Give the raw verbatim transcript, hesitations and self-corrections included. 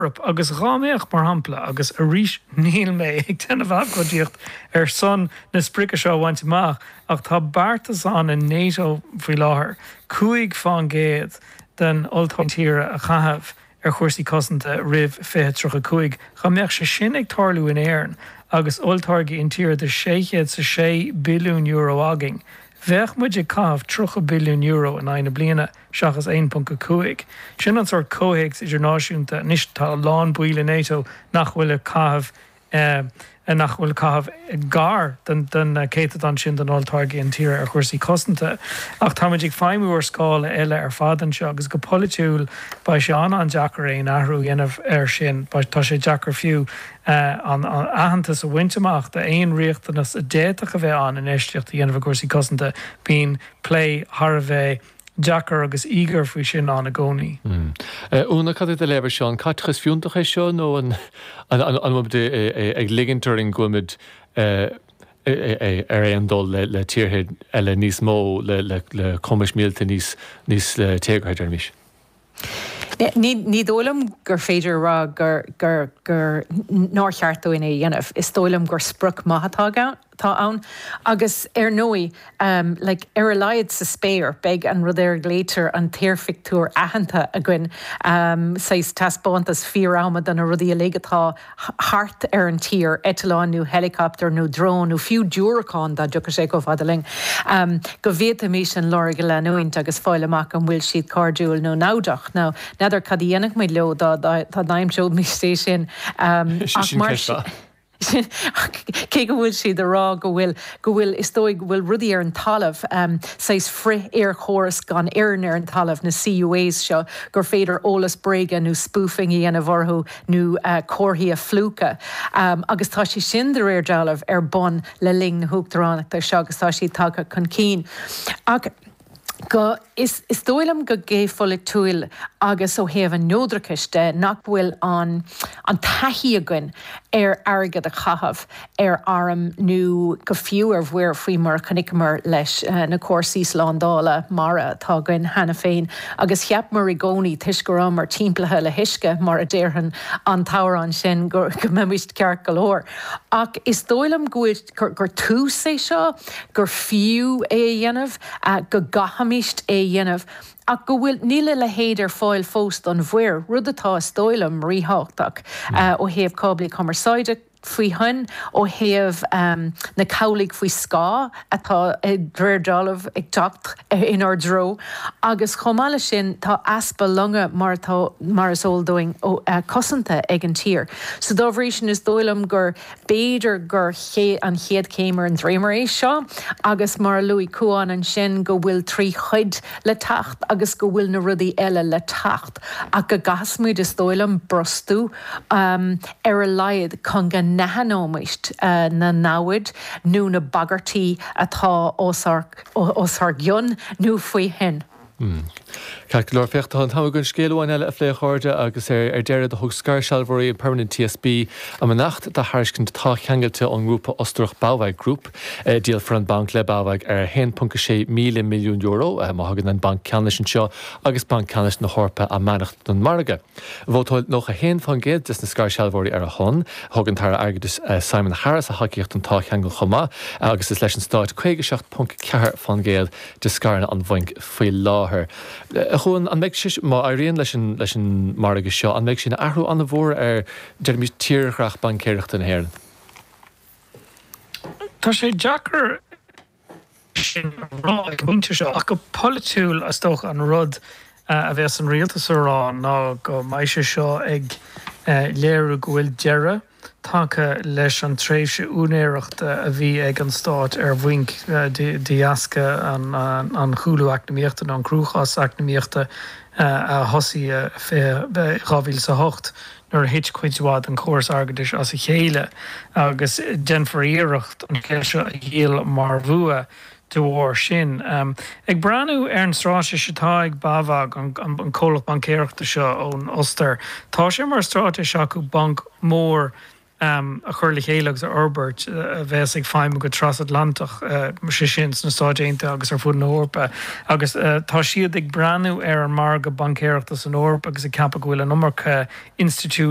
Agus dhá mbeadh, mar shampla, agus arís níl mé ag déanamh abhcóideacht ar son na sprice seo a bhaint amach, ach tá beartas ann in NATO faoi láthair cúig faoin gcéad den olltáirgeadh intíre a chaitheamh ar chúrsaí cosanta roimh fiche tríocha cúig. Dhá mbeadh sé sin ag tarlú in Éirinn agus olltáirgeadh intíre de sé chéad is a sé billiún euro againn, bheadh muid ag caitheamh tríocha billiún euro in aghaidh na bliana seachas aon ponc a cúig. Sin an sórt comhthéacs idirnáisiúnta. Anois tá a lán baill i NATO nach bhfuil ag caitheamh nach bhfuil ag caitheamh gar don céatadán sin den olltáirgeadh intíre ar chúrsaí cosanta. Ach táimid ag feidhmiú ar scála eile ar fad anseo agus go polaitiúil beidh sé an-an-deacair aon athrú a dhéanamh air sin. Tá sé deacair fiú an aitheantas a bhaint amach d'aon riachtanas a d'fhéadfadh a bheith ann infheistíocht a dhéanamh i gcúrsaí cosanta. Bíonn plé thar a bheith deacair agus íogair faoi sin ann i gcónaí. Úna, cad é do léamh air seo? An caiteachas fiúntach é seo nó an bhfuil muid ag ligint orainn go bhfuil muid ar aon dul le tíortha eile níos mó le cumais míleata níos téagartha, deirimis? Ní dóigh liom gur féidir a rá gur gur gur nár cheart dúinn é a dhéanamh. Is dóigh liom gur sprioc maith atá atá ann. Agus ar ndóigh, like, ar a laghad sa spéir, beidh an rud ar a nglaoitear an t-aerphictiúr aitheanta againn, saghas taispeántas fíor-ama de na rudaí uilig atá thart ar an tír, eitleán nó helicopter nó drón nó fiú diúracán dá dtiocfadh sé chomh fada linn, go bhféadfaimis an lorg a leanúint agus fáil amach an bhfuil siad cairdiúil nó namhdach. Now, n'fheadar cad a dhéanfadh muid leo dá dá n-aimseoimis é sin. Ach mar sin. Cé go bhfuil siad ag rá go bhfuil, go bhfuil, is dóigh go bhfuil rudaí ar an talamh, saghas frith-aerchóras gan fhoireann ar an talamh, na C U As seo, gur féidir eolas bréige nó spoofing a dhéanamh orthu nó comharthaí a phlúchadh. Agus tá sé sin de réir dealraimh ar bun le linn na huachtaránachta seo agus tá siad tagtha chun cinn. Ach go, is, is dóigh liom go geopholaitiúil agus ó thaobh an neodrachais de nach bhfuil an, an taithí againn ar airgead a chaitheamh ar airm nó go fiú ar mhuir, faoi mar a chonaiceamar leis na cúrsaí slándála mara atá againn cheana féin agus cheapamar i gcónaí toisc go rabhamar timpeallaithe le huisce, mar a déarfainn an t-amhrán sin, go go mbeimis ceart go leor. Ach is dóigh liom go bhfuil, gur tús é seo, gur fiú é a dhéanamh, go gcaithfimist é a dhéanamh, ach go bhfuil, níl a leithéid ar fáil fós don mhuir, rud atá, is dóigh liom, ríthábhachtach ó thaobh cáblaí cumarsáide faoi thoinn, ó thaobh na cabhlaigh faoi scáth atá, de réir dealraimh, ag teacht inár dtreo. Agus chomh maith leis sin, tá easpa longa mar atá, mar is eol dúinn, cosanta ag an tír. So dá bhrí sin, is dóigh liom gur, b'fhéidir gur an chéad chéim ar an dréimire é seo agus mar a luaigh Cuán ansin go bhfuil trí chuid le teacht agus go bhfuil na rudaí eile le teacht ach go gcaithfidh muid, is dóigh liom, brostú ar a laghad chun go n-aithneoimist na namhaid nó na bagairtí atá os ár gcionn nó faoi thoinn. Ceart go leor, féach, tá an t-am againn scéal amháin eile a phlé, a chairde, agus ar deireadh do thug scairshealbhóirí Permanent T S B a mbeannacht do thairiscint táthcheangailte ón ngrúpa Ostarach BAWAG Group. Díolfar an banc le BAWAG ar a haon ponc a sé míle milliún euro má thugann an Banc Ceannais anseo agus Banc Ceannais na hEorpa a mbeannacht don mhargadh. Vótáil nócha a haon faoin gcéad des na scairshealbhóirí ar a shon. Thug an tAire Airgeadais Simon Harris a thacaíocht don táthcheangal chomh maith agus is leis an Stát caoga a seacht ponc ceathair faoin gcéad de scaireanna an bhainc faoi láthair. A Chuain, an mbeidh sé, má éiríonn leis an leis an margadh seo, an mbeidh sé ina athrú an-mhór ar, deirimis, tírdhreach baincéireachta na hÉireann? Tá sé deacair sin a rá ag an bpointe seo, ach go polaitiúil is dócha an rud a bheas an rialtas a rá ná go mbeidh sé seo ag léiriú go bhfuil deireadh tagtha leis an tréimhse úinéireachta a bhí ag an stát ar bhainc de dheasca an chúlú eacnamaíochta nó an cruachás eacnamaíochta a thosaigh i dhá mhíle is a hocht nuair a thit cuid mhaith den chóras airgeadais as a chéile, agus déanfar iarracht an scéal seo a dhíol mar bhua de bharr sin. Ag breathnú ar an straitéis atá ag BAWAG, an comhlacht baincéireachta seo ón Ostair, tá sé mar straitéis acu banc mór um, a chur le chéile agus a fhorbairt a bheas ag feidhmiú go trasatlantach uh, sé sin sna Stáit Aontaithe agus ar fud na hEorpa agus uh, tá siad ag breathnú ar an margadh baincéireachta san Eoraip agus ag ceapadh go bhfuil an iomarca institiúid